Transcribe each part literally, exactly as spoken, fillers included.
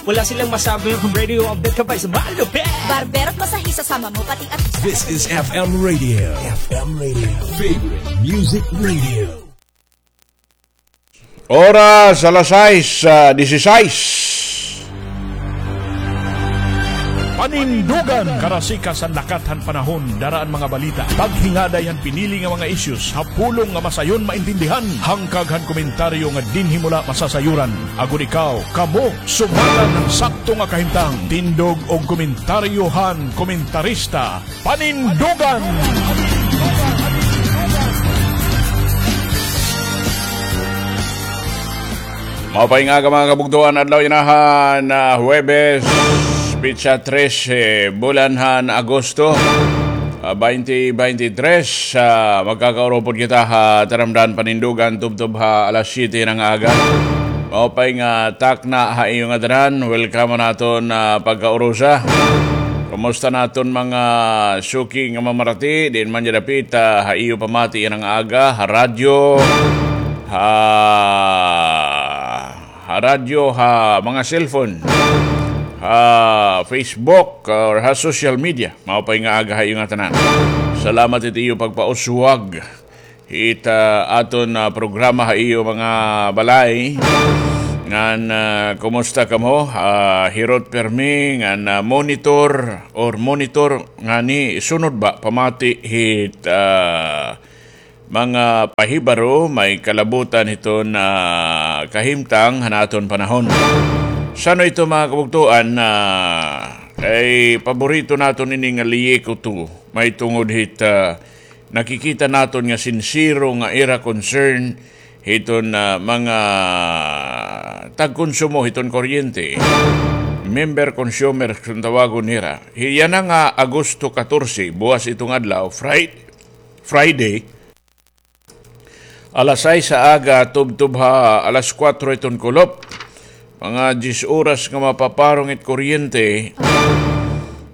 Wala silang masabi ang radio update ka pa sa malupit. Barbero at masahista, sama mo pati at This is F M Radio. F M Radio. Favorite Music Radio. Oras, alas sais, ah, disisais. Panindugan, karasikas han lakat han panahon, dara an mga balita, paghingaday han pinili nga mga issues, ha pulong nga masayon maintindihan, hangkag han komentaryo nga dinhi mo la masasayuran. Agod ikaw, kamo, sumala han sakto nga kahimtang, tindog og komentaryo han komentarista, Panindugan. Maupay nga aga, mga kabugtoan, adlaw yana han, ah, Huwebes, petsa trese, bulan han Agosto, ah, twenty twenty-three. Ah, magkakaurupod kita ha taramdan panindugan tubtob ha alas siyete han aga. Maupay nga takna ha iyo ngatanan. Welcome han aton, ah, pagkaurusa. Kumusta an aton mga suki nga mamarati? Diin man dya dapit, ah, ha iyo pamati yana nga aga, ha radyo, ha, ha radyo, ha mga cellphone, ha Facebook, or ha social media. Maupay nga aga ha iyo ngatanan. Salamat hit iyo pagpauswag hit, ah, aton, ah, programa ha iyo mga balay. Ngan, ah, kumusta kamo? Ah, hirot pirmi ngan, ah, monitor or monitor ngani sunod ba pamati hit, ah, mga pahibaro may kalabutan hiton, ah, kahimtang han aton panahon. San-o ito, mga kabugtoan, ah, kay paborito naton ini nga liyikuto, mahitungod hit, ah, nakikita naton nga sinsero nga ira concern hiton, ah, mga tagkonsumo hiton kuryente. Member consumers kun tawagon nira. Yana nga Agosto katorse, buwas iton adlaw, Fri-, Friday, alas sais ha aga, tubtob ha alas kuwatro hiton kulop. Mga diyes oras nga mapaparong it kuryente.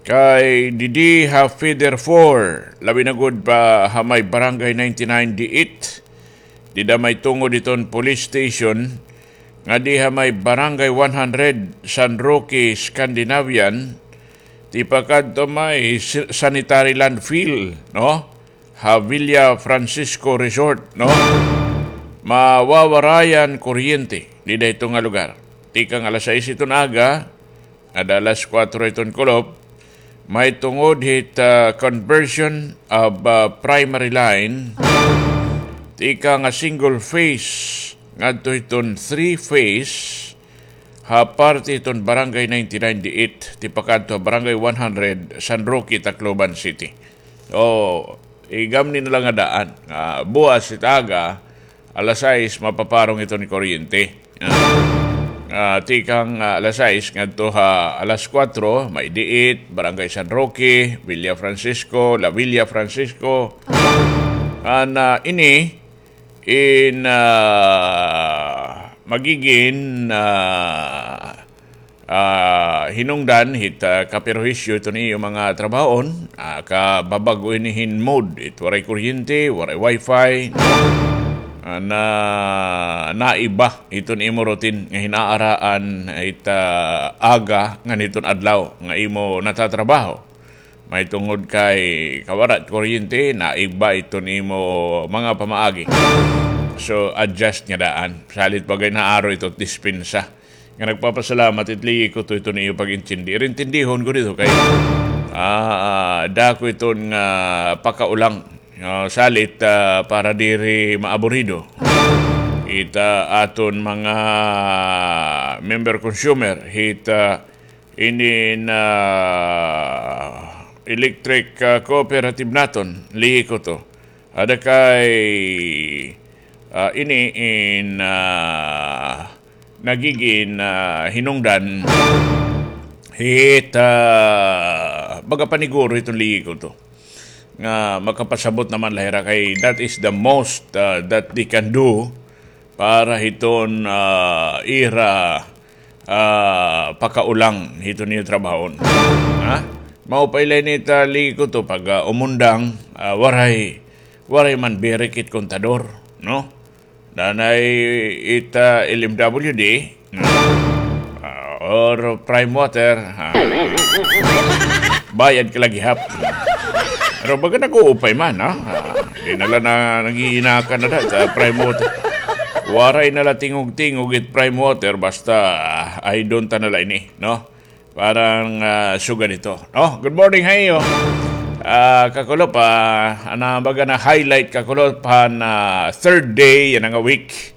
Kay didi ha Feeder four, labi na gud pa ha may Barangay ninety-nine D eight, dida may tungod hiton police station, ngadi ha may Barangay one hundred, San Roque, Scandinavian, tipakadto may si-, sanitary landfill, no? Ha Villa Francisco Resort, no? Mawawara an kuryente dida hito nga lugar. Tikang alas sais hiton aga, ngada alas kuwatro hiton kulop, mahitungod hit, ah, conversion of, ah, primary line, tikang nga single phase ngadto hiton three phase, ha parte hiton Barangay ninety-nine D eight, tipakadto ha Barangay one hundred, San Roque, Tacloban City. O, igamni na la nga daan, nga buwas hit aga, alas sais, mapaparong iton kuryente. Ah, ah, tikang, ah, alas sais ngadto ha alas kuwatro, may D eight, Barangay San Roque, Villa Francisco, La Villa Francisco. An, ah, ini, in, ah, magigin, ah, ah, hinungdan hit, ah, kaperhuisyo hiton iyo mga trabahoon, ah, kababag-o ini hin mode, it waray kuryente, waray wifi, no? Ah, na, naiba hiton imo routine nga hin-aaraan hit, ah, aga ngan hiton adlaw nga imo natatrabaho. Mahitungod kay kawara it kuryente, naiba iton imo mga pamaagi. So, adjust nga daan. Salit pa gay naaro ito dispensa. Nga nagpapasalamat it liyikuto iton iyo pag-intindi. Irintindihon ko dito kay, ah, ah, dako iton nga pakaulang. Ah, salit, ah, para diri maaburido it, ah, aton mga member consumer hit, ah, inin, ah, electric, ah, cooperative naton, liyikuto. Ada kay, ah, ini in, ah, nagigin, ah, hinungdan hit, ah, baga paniguro hiton liyikuto. Nga makapasabot naman la hira kay that is the most, ah, that they can do para hiton, ah, ira, ah, pakaulang hiton iyo trabahon. Ha? Maupay la ini ta liyikuto pag, ah, umundang, ah, waray, waray man birik it kontador, no? Nanay it, ah, L M W D, no? Ah, o, or Prime Water, ha? Bayad ka la gihap. Pero baga nag-uupay man, ha? Ah, di na la na nag-iinakan na da sa Prime Water. Waray na la tingog-tingog it Prime Water, basta, ah, ay doon ta na la ini, no? Parang, ah, sugad ito. Oh, good morning ha iyo. Ah, kakulop, ah, ana baga na highlight, kakulop, han, ah, third day yana nga week.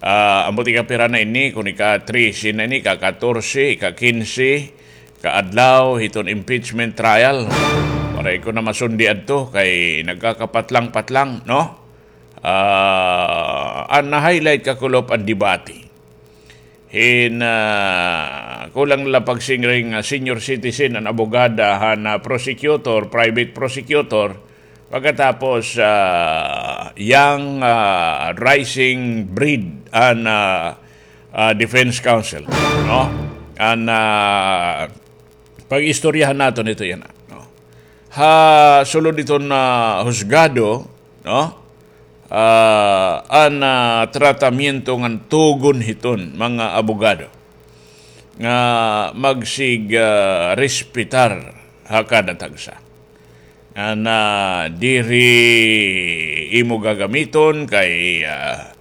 Ah, ambot ika-pira na ini, kon ika-trese na ini, ika-katorse, ika-kinse, kaadlaw hiton impeachment trial. Waray ko na masundi adto kay nagkakapatlang-patlang, no? Ah, an na-highlight, kakulop, an debate hin, ah, kulang la pagsiring, ah, senior citizen, an abogada han, ah, prosecutor, private prosecutor, pagkatapos, ah, young, ah, rising breed an, ah, ah, defense counsel, no? An, ah, pag-istoryahan naton ito yana, no? Ha sulod hiton, ah, husgado, no? Ah, an, ah, tratamiento ngan tugon hiton mga abogado nga magsig, ah, respetar ha kada tagsa. Ngan, ah, diri imo gagamiton kay, ah,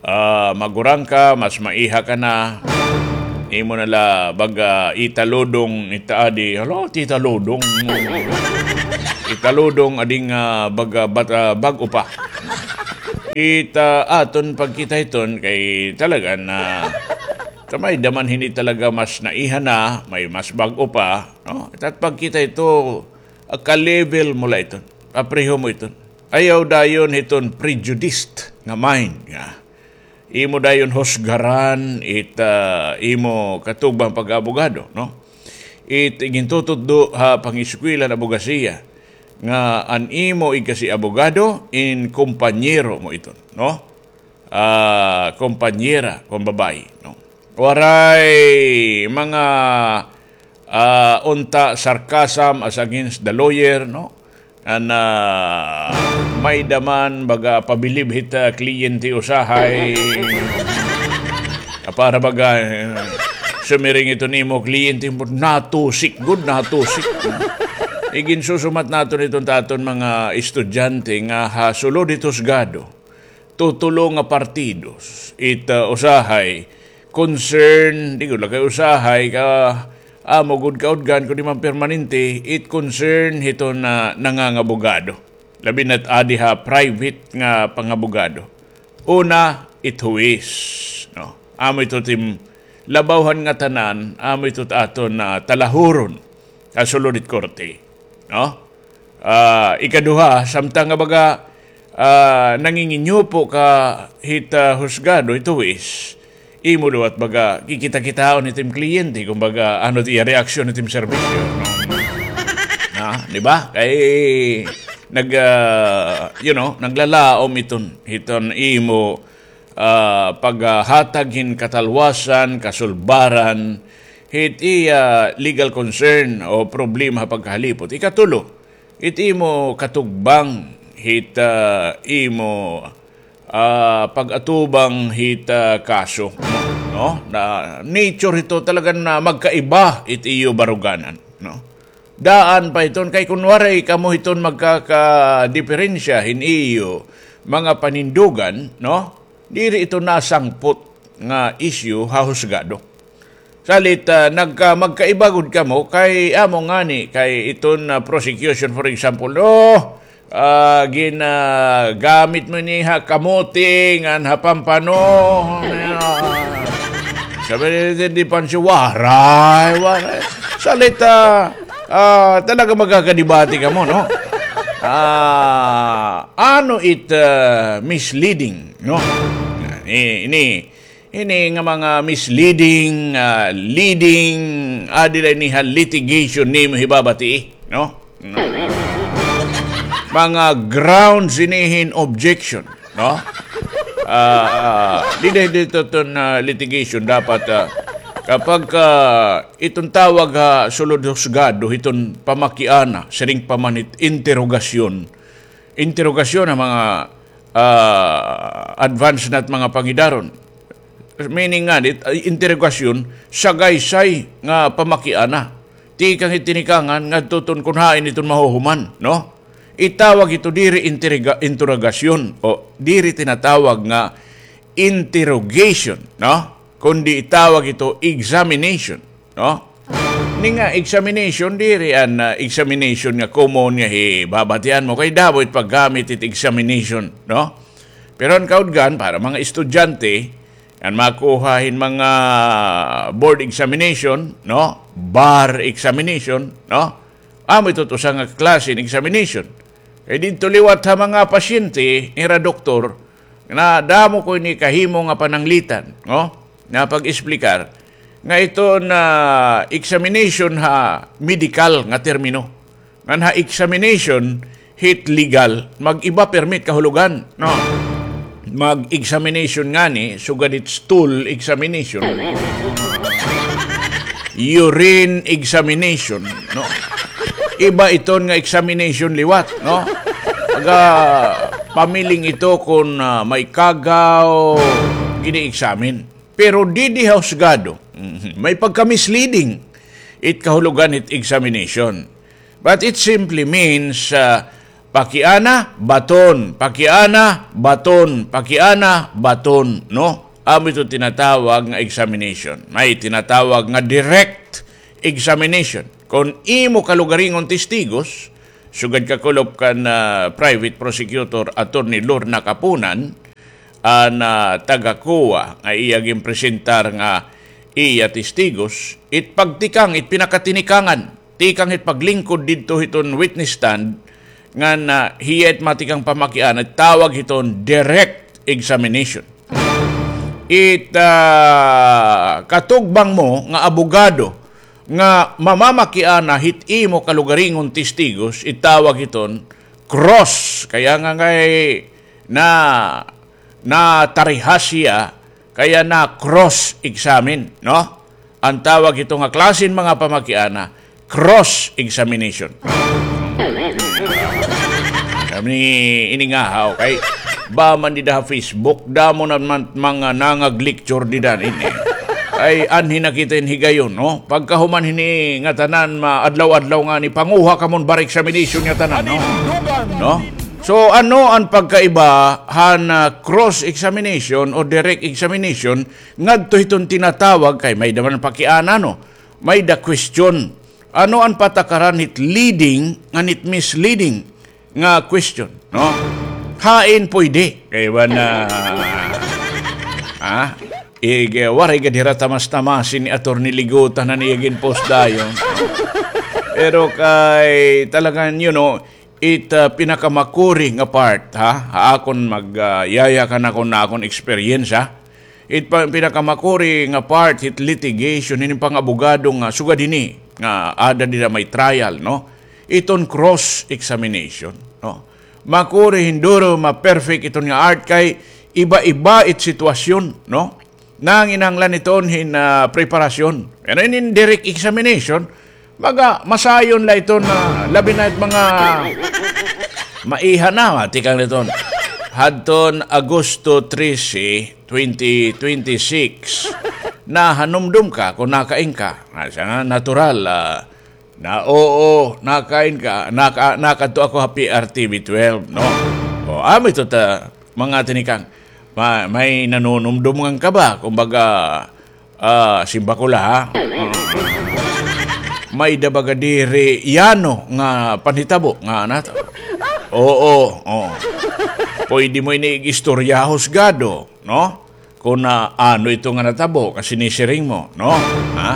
ah, magurang ka, mas maiha ka na. Imo na la baga italudong ita adi. Hala, ti italudong. Italudong ading, ah, baga, bat-, ah, bag-o pa. Ita aton pagkita hiton kay talaga na kamay daman hini talaga mas naiha na, may mas bag-o pa, no? Ita pagkita ito, ah, ka-level mo la iton. Papreho mo iton. Ayaw dayon hiton prejudiced nga mind nga imo dayon husgaran it, ah, imo katugbang pag-abogado, no? It gintututdo ha pangiskwela han abogasiya nga an imo igkasi-abogado in kompanyero mo iton, no? Ah, kompanyera kon babaye, no? Waray mga, ah, unta sarcasm as against the lawyer, no? An, ah, may-ada man baga pabilib hit, ah, kliyente usahay. Ah, para baga, eh, sumiring iton imo kliyente mo, natusik gud, natusik. Iginsusumat naton iton ta aton mga estudyante nga ha sulod hit husgado. Tutulo nga partidos. It, ah, usahay concern, di gud la kay usahay ka amo gud kaudgan kundi man permanente, it concern hiton, ah, nangangabogado. Labi na't adi ha private nga pangabogado. Una, it huwis, no? Amo ito tim labaw han ngatanan, amo ito it aton, ah, talahuron ha sulod hit korte, no? Ah, ikaduha, samtang nga baga, ah, nanginginyupo ka hit, ah, husgado, hit huwis, imo liwat baga kikita-kitaon hit im kliyente, kumbaga, ano it iya reaksyon hit im serbisyo, no? Ah, di ba? Kay nag, ah, you know, naglalaom iton, hiton imo, ah, paghatag hin katalwasan, kasulbaran, hit iya legal concern o problema ha pagkahalipot. Ikatulo, it imo katugbang hit, ah, imo, ah, pag-atubang hit, ah, kaso, no? Na nature hito talaga na magkaiba it iyo baruganan, no? Daan pa iton kay kun waray kamo hiton magkakadiperensya hin iyo mga panindugan, no? Diri ito nasangpot nga isyu ha husgado. Salit, ah, nagka-, magkaiba gud kamo kay amo ngani kay iton, ah, prosecution, for example, oh, ah, gin-, ah, gamit mo ini ha kamote ngan ha pampano. Sabi ni, di, di pa siya, waray, waray. Salit, ah, ah, talaga magkakadibati kamo, no? Ah, ano it, ah, misleading, no? Ini, ini, Ini nga mga misleading, ah, leading, adi la ini ha litigation nimo hibabati, no? Mga grounds ini hin objection, no? Ah, ah, dida dito ton, ah, litigation dapat, ah, kapag, ah, iton tawag ha sulod husgado, iton pamakiana, siring pa man it interrogasyon, interrogasyon ha mga, ah, advance na't mga pangidaron. meaning ngani, ah, interogasyon, sagaysay nga pamakiana. Tikang hit tinikangan ngadto ton kun hain iton mahuhuman, no? Itawag ito diri interiga-, interogasyon o diri tinatawag nga interrogation, no? Kundi itawag ito examination, no? Ini nga examination, diri an, ah, examination nga common nga hibabatian mo kay damo it paggamit it examination, no? Pero an kaudgan para mga estudyante, an makuha hin mga board examination, no? Bar examination, no? Amo ito usa nga klase hin examination. Kay didto liwat ha mga pasyente, nira doktor, nga damo ko ini kahimo nga pananglitan, no? Nga pag-explicar nga iton examination ha medical nga termino. Ngan ha examination hit legal, mag-iba permi it kahulogan, no? Mag-examination ngani, sugad hit stool examination. Urine examination, no? Iba iton nga examination liwat, no? Pagka pamiling ito kun, ah, may kagaw, gini-examine. Pero didi ha husgado, mhm, may pagka-misleading it kahulogan hit examination. But it simply means, ah, pakiana, baton, pakiana, baton, pakiana, baton, no? Amo ito tinatawag nga examination. May tinatawag nga direct examination. Kon imo kalugaringon testigos, sugad kakulop kan, ah, private prosecutor, Attorney Lorna Kapunan, an, ah, taga-COA nga iya ginpresentar nga iya testigos, it pagtikang, it pinakatinikanan, tikang it paglingkod didto hiton witness stand, ngan, ah, hiya it matikang pamakiana, tawag hiton direct examination. It, ah, katugbang mo nga abogado nga mamamakiana hit imo kalugaringon testigos, itawag hiton cross. Kaya nga ngay na, natarihas hiya, kaya na cross examine, no? An tawag hito nga klase hin mga pamakiana, cross examination. Kami ini nga haw kay ba man dida ha Facebook, damo na man mga nangag-lecture dida ini. Ay, anhi na kita hin higayon, no? Pagkahuman hini nga tanan, maadlaw-adlaw ngani, panguha kamon bar examination nga tanan, no? No? So, ano an pagkaiba han, ah, cross examination o direct examination ngadto hiton tinatawag kay may-da man pakiana, no? May-da question. Ano an patakaran hit leading ngan hit misleading nga question, no? Hain pwede? Kay ba na, ha? Ig, waray gad hira tamas-tamasin ni Attorney Ligutan han iya ginpost dayon. Pero kay talagan, you know, it, ah, pinakamakuri nga part, ha? Ha akon mag, ah, yaya kan akon, akon experience, ha? It pa-, pinakamakuri nga part hit litigation, hini pang-abogado nga sugad hini nga ada dida may trial, no? Iton cross examination, no? Makuri hin duro ma-perfect iton nga art kay iba-iba it sitwasyon, no? Nanginahanglan iton hin, ah, preparasyon. Pero inin direct examination, baga masayon la iton, ah, labi na it mga maiha na, ah, tikang iton. Hadton Agosto trese, twenty twenty-six, nahanumdom ka kon nakain ka. Ah, siya nga, natural, ah, na, oo, nakain ka, naka-, nakadto ako ha P R T V twelve, no? O, amo ito ta, mga tinikang, ma-, may nanunumdom ngan ka ba? Kumbaga, ah, simbako la, ha? May-da baga diri yano nga panhitabo nga nato. Oo, oo. Pwede mo ini ig-istorya ha husgado, no? Kon, ah, ano ito nga natabo nga sinisiring mo, no? Ha?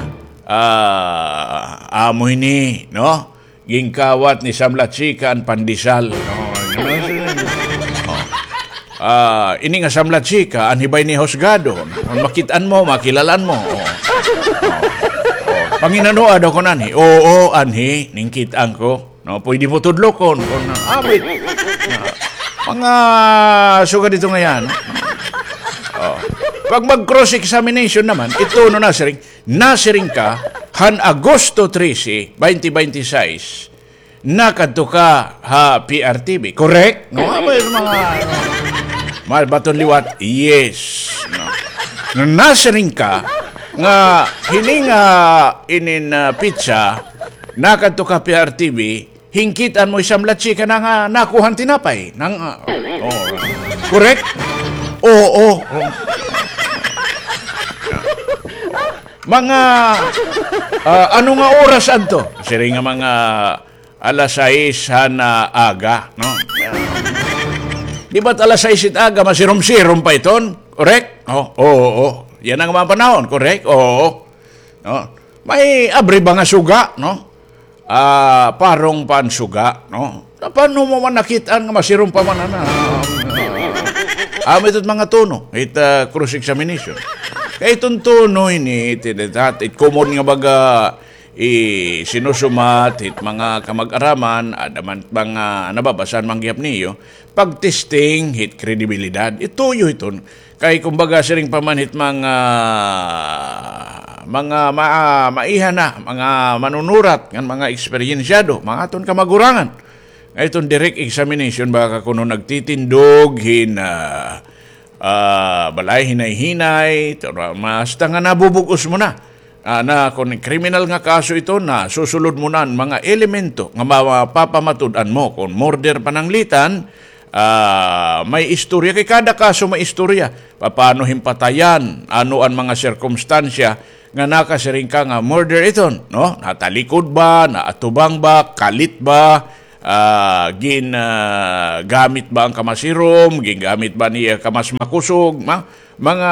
Ah, amo ini, no? Ginkawat ni Samlat Chika an pandesal. Oh, ano na sila? Oh. Ah, ini nga Samlat Chika, anhi ba ini ha husgado? Kon makit-an mo, makilalaan mo. Oh. Oh. Oh. Panginanoa daw kon anhi. Oo, anhi, ningkit-an ko. No, pwede mo tudlokon kon, ah, wait. Mga sugad ito nga yan. Oh. Pag mag-cross-examination naman, ito no nasiring, nasiring ka, han Agosto trese, twenty twenty-six, nakadto ka ha P R T V. Correct? No, amo it mga, ano, mga baton liwat, yes. No. Nasiring ka nga hini nga inin, ah, pitsa, nakadto ka P R T V, hingkit-an mo hi Sam La Chica na nga nakuha an tinapay. Nang, ah, oh. Correct? Oo, oo. Mga, ah, ano nga oras adto? Siring nga mga alas sais han aga, no? Di ba't alas sais it aga, masirom-sirom pa iton? Correct? Oh, oo, oo. Yan an mga panahon, correct? Oo. No? May abri ba nga suga, no? Ah, parong pa an suga, no? Paano mo man nakit-an nga masirom pa man, ana? Amo ito mga tono, it, ah, cross-examination. Kay iton tono ini, it, it, it, it common nga baga, i-, sinusumat hit mga kamag-araman, ada man mga nababasa man gihap niyo, pag-testing hit kredibilidad. Ituyo hiton. Kay kumbaga siring pa man hit mga, mga ma-, maiha na, mga manunurat, ngan mga eksperyensyado, mga aton kamagurangan. Nga iton direct examination, baka kuno nagtitindog hin, ah, ah, balay hinay-hinay, tara, hasta nga nabubug-os mo na. Ah, na kon kriminal nga kaso iton, nasusulod mo na an mga elemento nga mapapamatud-an mo. Kon murder pananglitan, ah, may istorya. Kay kada kaso may istorya. Papaano hin patayan? Ano an mga sirkumstansya nga nakasiring ka nga murder iton, no? Natalikod ba? Naatubang ba? Kalit ba? Ah, gin, ah, gamit ba an kamasirom? Gingamit ba niya kamas makusog? Ma-, mga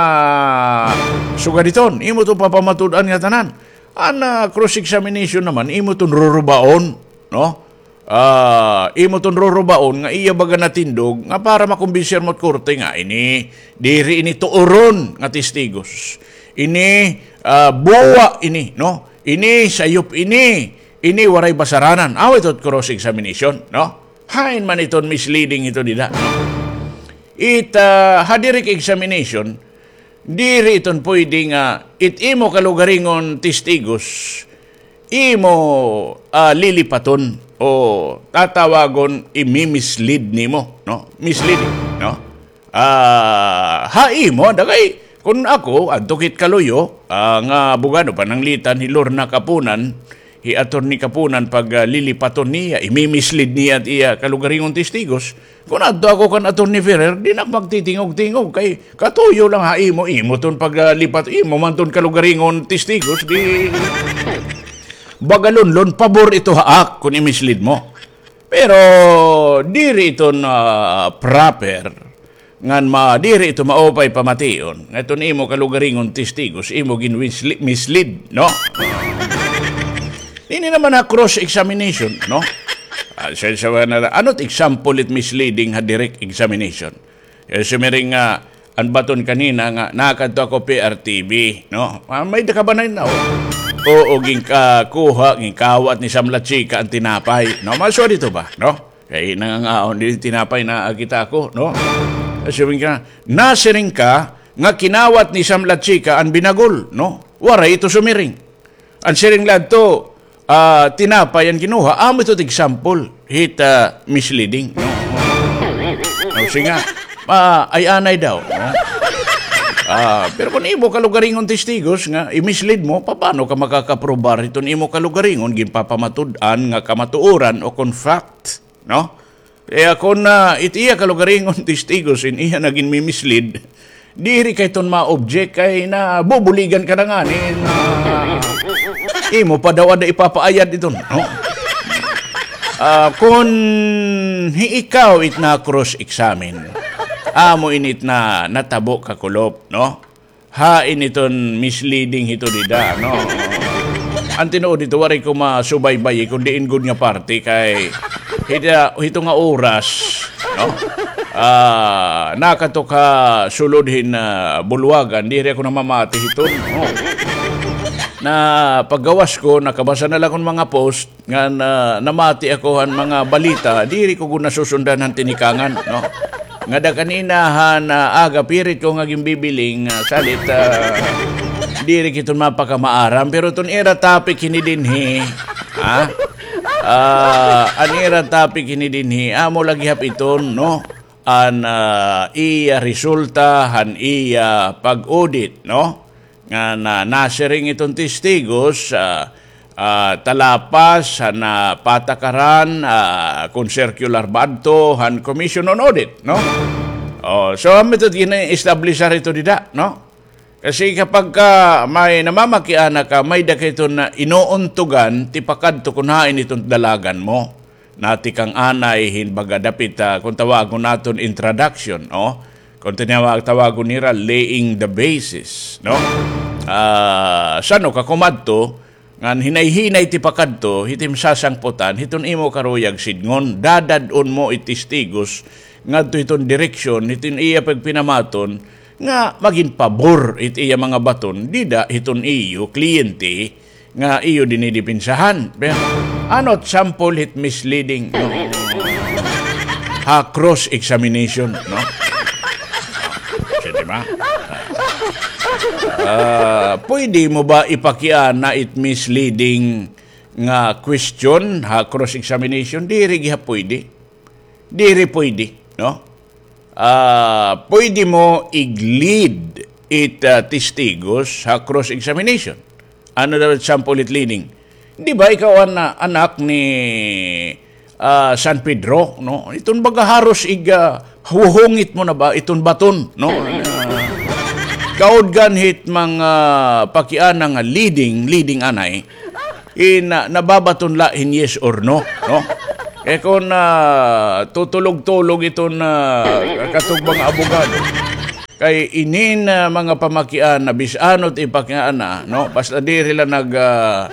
sugad iton, imo iton papamatud-an nga tanan. An, ah, cross-examination naman, imo iton rurubaon, no? Ah, imo iton rurubaon nga iya baga natindog nga para makumbinser mo it korte nga ini, diri ini tuoron nga testigos. Ini, ah, buwa ini, no? Ini, sayop ini. Ini waray basaranan. Aw, ito cross-examination, no? Hain man iton misleading ito dida, no? It, ah, ha direct examination, diri iton pwede nga it imo kalugaringon testigos, imo, ah, lilipaton o tatawagon imi-mislead nimo, no? Misleading, no? Ah, ha imo, da kay, kun ako, adto kit kaluyo, ah, nga abogado, pananglitan hi Lorna Kapunan, hi Attorney Kapunan, pag, ah, lilipaton niya, imi-mislead niya it iya kalugaringon testigos. Kun adto ako kan Attorney Ferrer, di na ako magtitingog-tingog, kay katuyo lang ha imo, imo iton pag, ah, lipat, imo man iton kalugaringon testigos, di bagalonlon, pabor ito ha ak, kun i-mislead mo. Pero diri iton, ah, proper, ngan ma-, diri ito maupay pamation, nga iton imo kalugaringon testigos, imo gin-misle-, mislead, no? Ini naman ha cross-examination, no? Ah, sa, sa, na, ano it example it misleading ha direct examination? Eh, sumiring nga, an baton kanina nga, nakadto ako P R T V, no? Ah, may da ka ba na, no? Oo, ginkakuha, ginkawat ni Sam La Chica an tinapay, no? Maswa dito ba, no? Kay nangangaon din tinapay na kita ako, no? Siring ka, nasiring ka nga kinawat ni Sam La Chica an binagol, no? Waray ito sumiring. An siring la adto, ah, tinapay an kinuha, amo ito example hit, ah, misleading, no? No, sige nga, ah, ay anay daw, no? Ah, pero kun imo kalugaringon testigos nga i-mislead mo, paano ka makakaprobar iton imo kalugaringon, ginpapamatud-an nga kamatuoran o kon fact? No? Kaya kun, ah, it iya kalugaringon testigos in iya na ginmi-mislead, diri kay iton ma-object kay nabubuligan ka na ngani, ah, imo pa daw ada ipapaayad iton, no? Ah, kun hi ikaw it na-cross-examine, amo ini it na natabo kakulop, no? Hain iton misleading hito dida, no? An tinuod hito, waray ko masubaybay, kun diin gud nga parte kay hita-, hito nga oras, no? Ah, nakadto ka sulod hin, ah, bulwagan, diri ako namamati hiton, no? Na paggawas ko, nakabasa na la kon mga post, nga na, namati ako han mga balita, diri ko gud nasusundan han tinikangan, no? Ngada kanina han, ah, aga, pirit ko nga ginbibiling, ah, salit, ah, diri kiton mapakamaaram, pero iton ira topic hini dinhi, ha? Ah, an ira topic hini dinhi, amo la gihap iton, no? an, ah, iya resulta han iya pag-audit, no? Nga na, nasiring iton testigos, ah, ah, talapas han, ah, patakaran, ah, kon circular ba adto han Commission on Audit, no? Oh, so, amo ito gina-establishar ito dida, no? Kasi kapag ka may namamakiana ka, may-ada ka iton inuuntugan, tipakadto kon hain iton dalagan mo. Natikang anay hin baga dapit, ah, kon tawagon naton introduction, no? Kon tinawag, tawagon nira laying the basis, no? Ah, san-o ka kumadto, ngan hinay-hinay tipakadto, hiton sasangputan, hiton imo karuyag sidngon, dadad-on mo it testigos, ngadto hiton direksyon, hiton iya pagpinamaton, nga magin pabor it iya mga baton, dida hiton iyo kliyente nga iyo dinidipinsahan. Pero, ano it sample hit misleading, no? Ha cross-examination, no? Siya, di ba? Ah, pwede mo ba ipakiana it misleading nga question ha cross-examination? Diri gihap pwede. Diri pwede, no? Ah, pwede mo ig-lead it, ah, testigos ha cross-examination. Ano daw it sample it leading? Di ba ikaw an, ah, anak ni, ah, San Pedro, no? Iton baga haros ig, ah, huhungit mo na ba iton baton, no? Kaudgan hit mga pakiana nga leading, leading anay, in, ah, nababaton la hin yes or no, no? Kay kon, ah, tutulog-tulog iton, ah, katong mga abogado, kay inin, ah, mga pamakiana, bisan ano it ipakiana, no? Basta diri la nag, ah,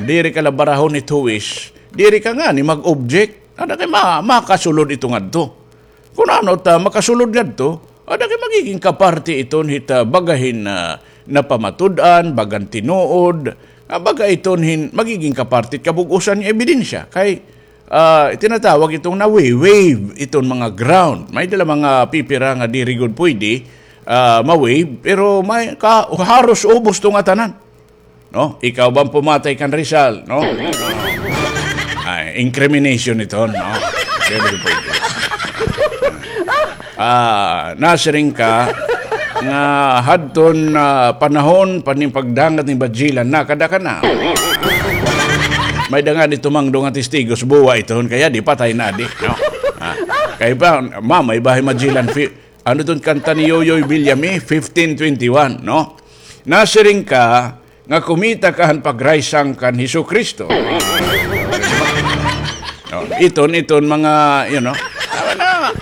diri ka la barahon it huwis, diri ka ngani mag-object. Ada kay ma-, makasulod ito ngadto. Kun ano ta makasulod ngadto, ada kay magiging kaparti iton hit, ah, baga hin, ah, napamatud-an, bagan tinuod, ah, baga iton hin magiging kaparti kabug-osan nga ebidensya. Kay, ah, tinatawag iton na-waive iton mga ground. May-ada la mga pipira nga diri gud pwede, ah, ma-waive, pero may ka-, haros ubos to nga tanan. No? Ikaw ba an pumatay kan Rizal, no? Ay, incrimination ito, no? Diri pwede. Ah, nasiring ka nga hadton, ah, panahon pa nin pagdangat ni Magellan, nakada ka na. May-ada ngani tumangdo nga testigos, buwa iton, kay adi patay na adi, no? Ah, kay pa, ma, may-ada hi Magellan, fi-, ano iton kanta ni Yoyoy Villame, fifteen twenty-one, no? Nasiring ka nga kumita ka han pagraysang kan Hesukristo. Oh, iton, iton mga, you know, ano,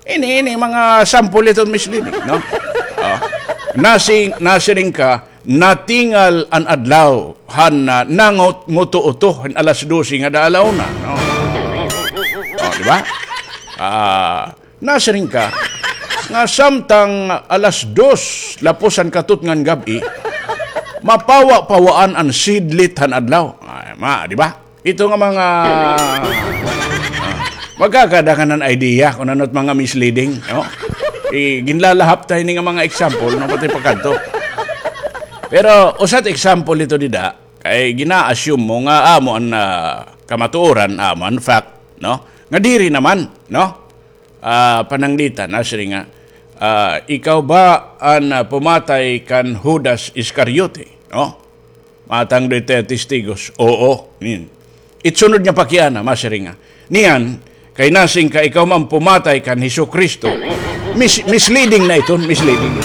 ini, ini mga sample iton misleading, no? Oh. Nasing-, nasiring ka, natingal an adlaw han, ah, nanguto-uto han alas dose ngada ala una, no? Oh, di ba? Ah, nasiring ka nga samtang alas dos lapos han katutngan gab-i, mapawa-pawaan an sidlit han adlaw. Ay, ma, di ba? Ito nga mga, ah, magkakada ka nan idea kon ano it mga misleading, no? I-, ginlalahap ta ini nga mga example, no? Pati pagkadto. Pero, usa it example ito dida, kay gina-assume mo nga amo an, ah, kamatuoran, amo an fact, no? Nga diri naman, no? Ah, pananglitan, nasiring nga, ah, ikaw ba an, ah, pumatay kan Judas Iscariote? No? Matang dito testigos, oo. Nin. It sunod nga pakiana, masiring nga, niyan, kay nasiring ka, ikaw man pumatay kan Hesukristo. Mis-, misleading na iton, misleading.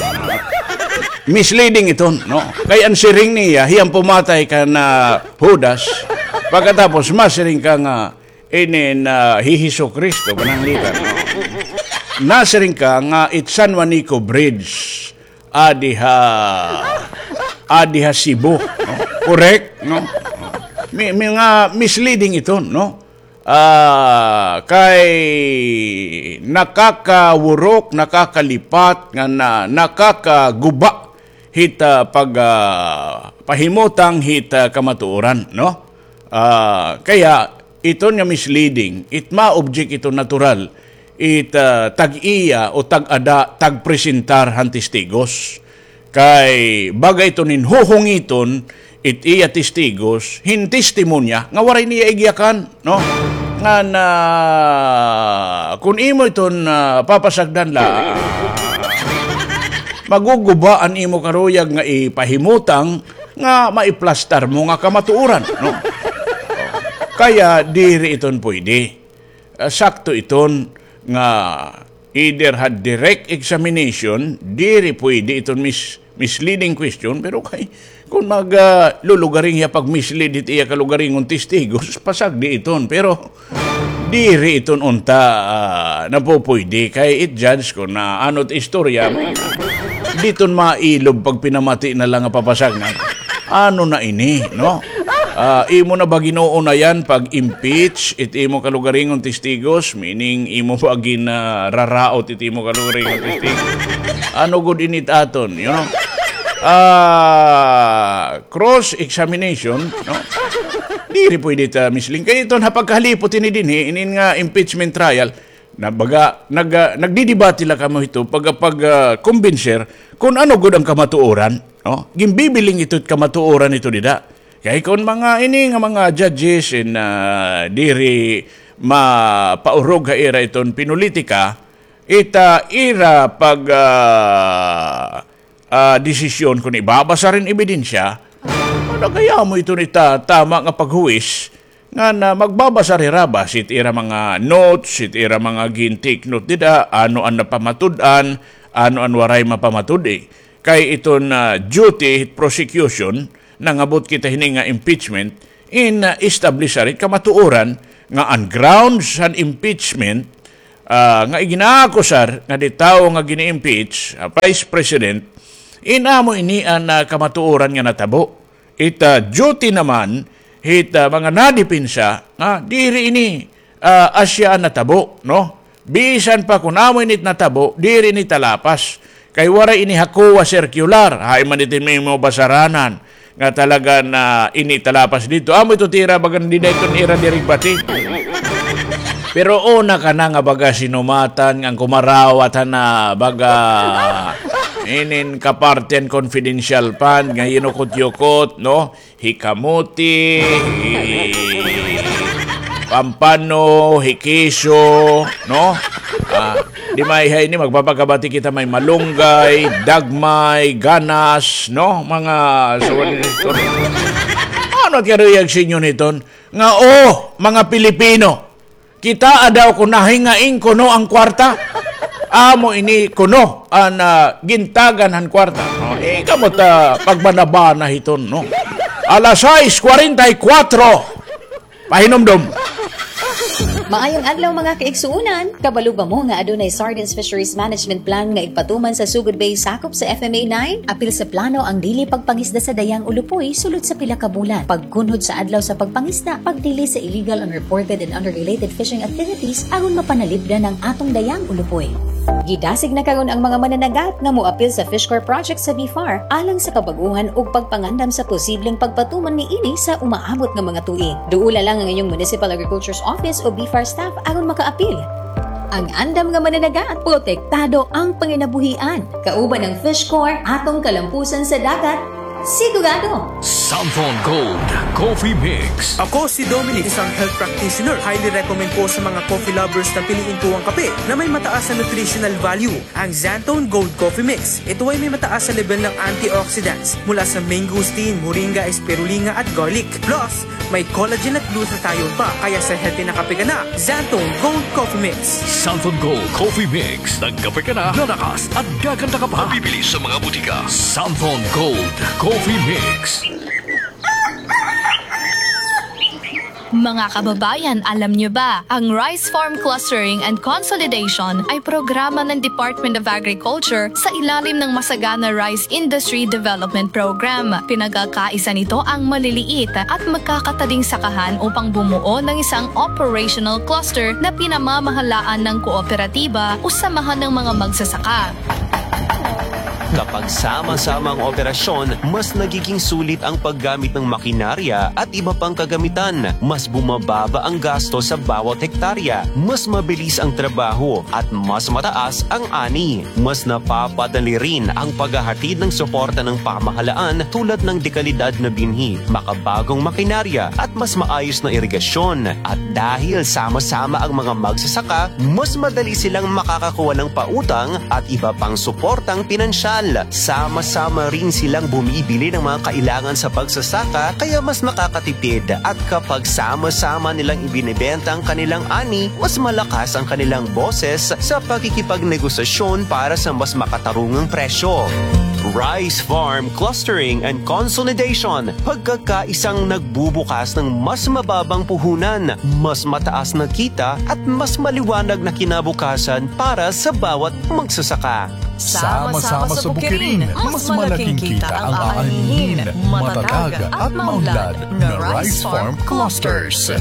Misleading iton, no? Kay an siring niya, hiya an pumatay kan, ah, Judas. Pagkatapos, masiring ka nga, inin, ah, hi Hesukristo, pananglitan. Nasiring ka nga it San Juanico Bridge, adi ha, adi ha Cebu, no? Correct, no? Mi-, mga misleading ito, no? Ah, kay nakakawurok, nakakalipat, nga na, nakakaguba hit, ah, pag, ah, pahimutang hit, ah, kamatuoran, no? Ah, kaya, iton nga misleading, it ma-object ito natural, it, ah, tag-iya o tag-ada, tagpresentar han testigos. Kay, baga ito nin huhungiton, it iya testigos, hin testimonya, nga waray niya igyakan, no? Ngan, ah, kun imo iton, ah, papasagdan la, maguguba an imo karuyag nga ipahimutang nga maiplastar mo nga kamatuoran, no? Kaya diri iton pwede. Ah, sakto iton nga either ha direct examination, diri pwede iton mis-, misleading question, pero kay, kun mag, ah, lulugaring hiya pag-mislead hit iya kalugaringon testigos, pasagdi iton. Pero, diri iton unta, ah, napupuydi kay it judge kun, ah, ano it istorya, diton mailob pagpinamati na la nga papasagdan. Ano na ini, no? Ah, imo na ba gin-uunayan pag-impeach it imo kalugaringon testigos? Meaning, imo ba ginararaot it imo kalugaringon testigos? Ano gud ini it aton, you know? Ah, cross-examination, no? Diri pwede ta misleading. Kay iton ha pagkahalipot ini dinhi, inin nga impeachment trial, na baga, nag-, ah, nagdidebate la kamo hito, pag, pag, ah, kumbinser kun ano gud an kamatuoran, no? Ginbibiling ito it kamatuoran ito dida. Kay kun mga ini nga mga judges in, ah, diri mapaurog ha ira iton pinulitika, ita ira pag, ah, ah, desisyon kun ibabasar hin ebidensya, ano kaya mo ito nita tama nga paghuwis, nga na magbabasar hira basi it ira mga notes, it ira mga gin-take note dida, ano an napamatud-an, ano an waray mapamatud-i. Kay iton, ah, duty hit prosecution, nangabot kita hini nga impeachment, in, ah, establish hit kamatuoran nga an grounds han impeachment, ah, nga igin-aakusar nga di tawo nga gin-impeach, ah, Vice President, in amo ini an, ah, kamatuoran nga natabo. It, ah, duty naman hit, ah, mga nadepensa nga diri ini, ah, asya an natabo, no? Bisan pa kun amo ini it natabo, diri ini talapas. Kay waray ini ha COA circular, hain man iton imo basaranan nga talaga na ini talapas didto. Amo ito it ira baga dida iton ira dirigbati. Pero una ka na nga baga sinumatan, nga kumarawat ha na baga inin kapartihan confidential fund nga yinukot-yukot, no? Hi kamote, hi pampano, hi keso, no? Ah, di may hay ini, magpapakabati kita, may malunggay, dagmay, ganas, no? Mga suwad ni Nestor. Ano it karuyag sa inyo niton? Nga, oh, mga Pilipino, kitaa daw kun nahingain kuno an kwarta. Amo ini kuno an, ah, gintagan han kwarta. No? Eh, kamo ta pagbanabana hiton, no? Alas sais kwarenta y kuwatro. Pahinumdom. Maayong adlaw, mga kaigsuonan. Kabalo ba mo nga adunay Sardines Fisheries Management Plan nga igpatuman sa Sugod Bay, sakop sa F M A nine? Apil sa plano ang dili pagpangisda sa Dayang Ulupoy sulod sa pila ka bulan. Pagkunhod sa adlaw sa pagpangisda, pagdili sa illegal, unreported, and unregulated fishing activities aron mapanalipdan ang atong Dayang Ulupoy. Gidasig na karon ang mga mananagat nga moapil sa Fish Corps project sa BFAR alang sa kabag-ohan ug pagpangandam sa posibleng pagpatuman niini sa umaabot nga mga tuig. Duola lang ang inyong Municipal Agriculture's Office o BFAR staff aron makaapil. Ang andam nga mananagat, protektado ang panginabuhian. Kauban ang Fish Corps, atong kalampusan sa dagat, sigurado! Santon Gold Coffee Mix. Ako si Dominic, isang health practitioner. Highly recommend ko sa mga coffee lovers na piliin ko ang kape na may mataas na nutritional value, ang Xanthone Gold Coffee Mix. Ito ay may mataas na level ng antioxidants mula sa mangosteen, moringa, spirulina at garlic. Plus, may collagen at glutathione pa, kaya sa healthy na kape ka na, Xanthone Gold Coffee Mix. Santon Gold Coffee Mix. Nagkape ka na, lalakas at gaganda ka pa. Mabibili sa mga butika. Santon Gold Coffee Mix. Mga kababayan, alam niyo ba, ang Rice Farm Clustering and Consolidation ay programa ng Department of Agriculture sa ilalim ng Masagana Rice Industry Development Program. Pinagkakaisa nito ang maliliit at magkakatading sakahan upang bumuo ng isang operational cluster na pinamamahalaan ng kooperatiba o samahan ng mga magsasaka. Kapag sama-sama ang operasyon, mas nagiging sulit ang paggamit ng makinarya at iba pang kagamitan. Mas bumababa ang gasto sa bawat hektarya. Mas mabilis ang trabaho at mas mataas ang ani. Mas napapadali rin ang paghahatid ng suporta ng pamahalaan tulad ng dekalidad na binhi, makabagong makinarya at mas maayos na irigasyon. At dahil sama-sama ang mga magsasaka, mas madali silang makakakuha ng pautang at iba pang suportang pinansyal. Sama-sama rin silang bumibili ng mga kailangan sa pagsasaka, kaya mas nakakatipid. At kapag sama-sama nilang ibinebenta ang kanilang ani, mas malakas ang kanilang boses sa pakikipagnegosasyon para sa mas makatarungang presyo. Rice Farm Clustering and Consolidation, pagkakaisang nagbubukas ng mas mababang puhunan, mas mataas na kita at mas maliwanag na kinabukasan para sa bawat magsasaka. Sama-sama sa Bukirin, mas malaking kita ang aanihin, matatag at maunlad na Rice Farm Clusters.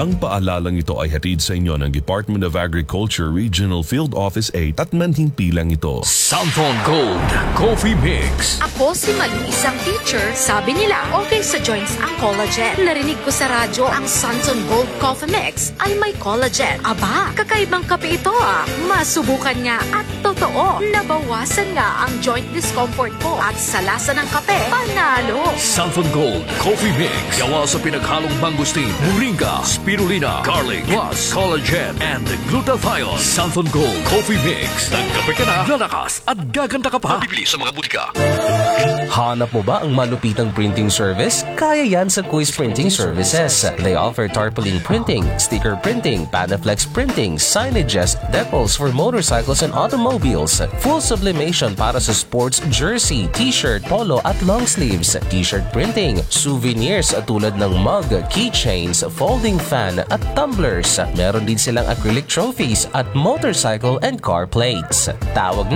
Ang paalalang ito ay hatid sa inyo ng Department of Agriculture Regional Field Office eight at manhimpilang ito. Santon Gold Coffee Mix. Ako si Malu, isang teacher. Sabi nila, okay sa joints ang collagen. Narinig ko sa radyo ang Santon Gold Coffee Mix ay may collagen. Aba, kakaibang kape ito ah. Masubukan nga at totoo, nabawasan nga ang joint discomfort ko at sa lasa ng kape, panalo! Santon Gold Coffee Mix. Gawa sa pinaghalong mangosteen, moringa, spirulina, garlic, plus collagen and glutathione. Santon Gold Coffee Mix. Nagkape ka na, lalakas at gaganda ka pa. Mabibili sa mga butika. Hanap mo ba ang malupitang printing service? Kaya yan sa Quiz Printing Services. They offer tarpaulin printing, sticker printing, Panaflex printing, signages, decals for motorcycles and automobiles, full sublimation para sa sports jersey, t-shirt, polo at long sleeves, t-shirt printing, souvenirs tulad ng mug, keychains, folding fan at tumblers. Meron din silang acrylic trophies at motorcycle and car plates. Tawag